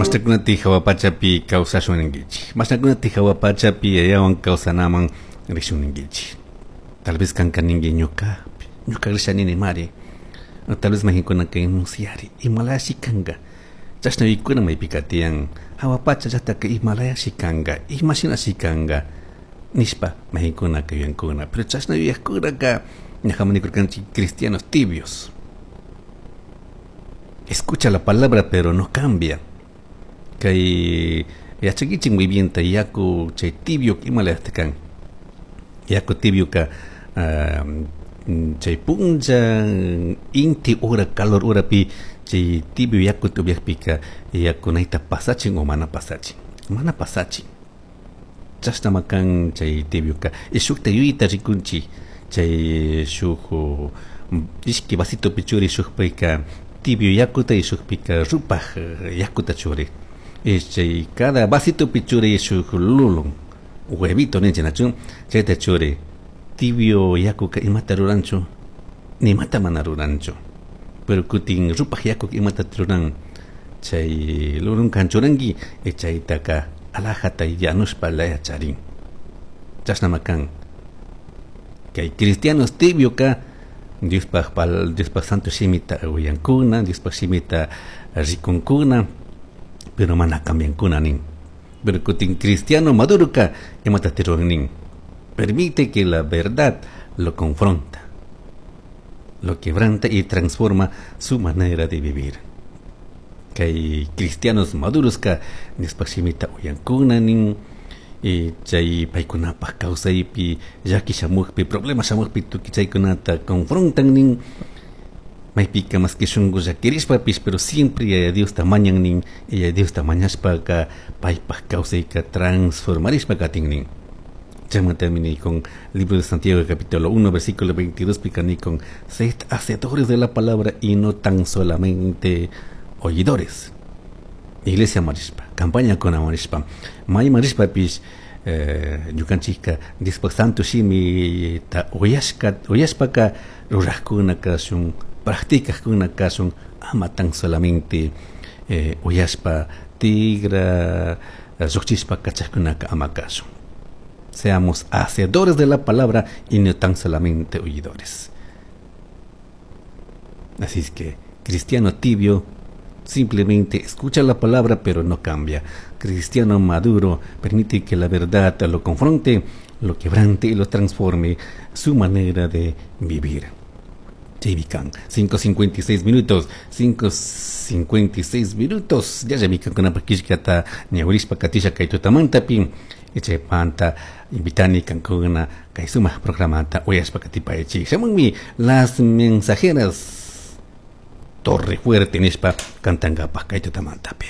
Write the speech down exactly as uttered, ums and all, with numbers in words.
Mashnakunati hawa pachapi kawsashun ninkichik. Mashnakunati hawa pachapi yayawan kawsanaman rishun ninkichik. Tal vez kanka ninki ñuka, ñuka risha nini mari. Tal vez mayqinkunaka musyari imalashi kanka. Chashna yuyaykuna maypika tiyan hawa pacha llaktaka imalayashi kanka, imashinashi kanka nishpa mayqinkunaka yuyankuna. Pero chashna yuyakkunaka ñajaman nikurkanchik cristianos tibios. Escucha la palabra, pero no cambia. Kay yachakichik muy bien ta yaku chay tibio imalayata kan. Yaku tibio ka uh, chay punlla inti hora calor horapi chay tibio yaku upiakpika yakunayta pasachin o mana pasachin. Mana pasachin. Chashnama kan chay tibio ka. Y shukta yuyayta rikunchik chay shuk ishki vasitopi churi shukpika tibio yakuta y shukpika rupaj yakuta churi. Y chay cada vasitopi churi shuk lulun huevito ninchik, nachu? Chayta churi. Tibio yakuka imata ruranchu? Nimata mana ruranchu. Pero kutin rupaj yakuka imata ruran? Chay lulun kan churanki y chaytaka alajata yanushpa laya charin. Chashnama kan. Kay cristianos tibio ka Diospaj pal Diospaj santo shimita uyankuna, Diospaj shimita rikunkuna, pero mana cambiankuna nin. Pero kutin cristiano maduro ka imata ruran nin. Permite que la verdad lo confronta, lo quebranta y transforma su manera de vivir. Kay cristianos maduros ka Diospaj shimita uyankuna nin y chay paykunapaj kawsaypi llaki shamukpi problema shamukpi tukuy chaykunata confrontan nin. Maypika más que shunku llakirishpapish, pero siempre Yaya Diosta mañan nin. Yaya Diosta mañashpaka paypaj kawsayka transformarishpa katin nin. Chaymantami con libro de Santiago capítulo uno versículo veintidós pika con sed hacedores de la palabra y no tan solamente oidores. Iglesia marishpa, campaña con marishpa, may marishpapish eh, ñukanchikka Diospaj santo shimi ta uyashka uyashpaka rurajkuna kashun, practicajkuna kashun, ama tan solamente eh, uyashpa tigra llukchishpa kachajkunaka ama kashun. Seamos hacedores de la palabra y no tan solamente oidores. Así es que cristiano tibio simplemente escucha la palabra, pero no cambia. Cristiano maduro permite que la verdad lo confronte, lo quebrante y lo transforme su manera de vivir. Chaymi kan, cinco cincuenta y seis minutos, cinco cincuenta y seis minutos. Ya ya kankunapaj killkata ñawirishpa katisha kay tutamantapi. Chaymanta invitani kankuna kay sumak programata uyashpa katipaychik. Shamunmi Las Mensajeras Torre Fuerte nishpa cantankapaj kay tutamantapi.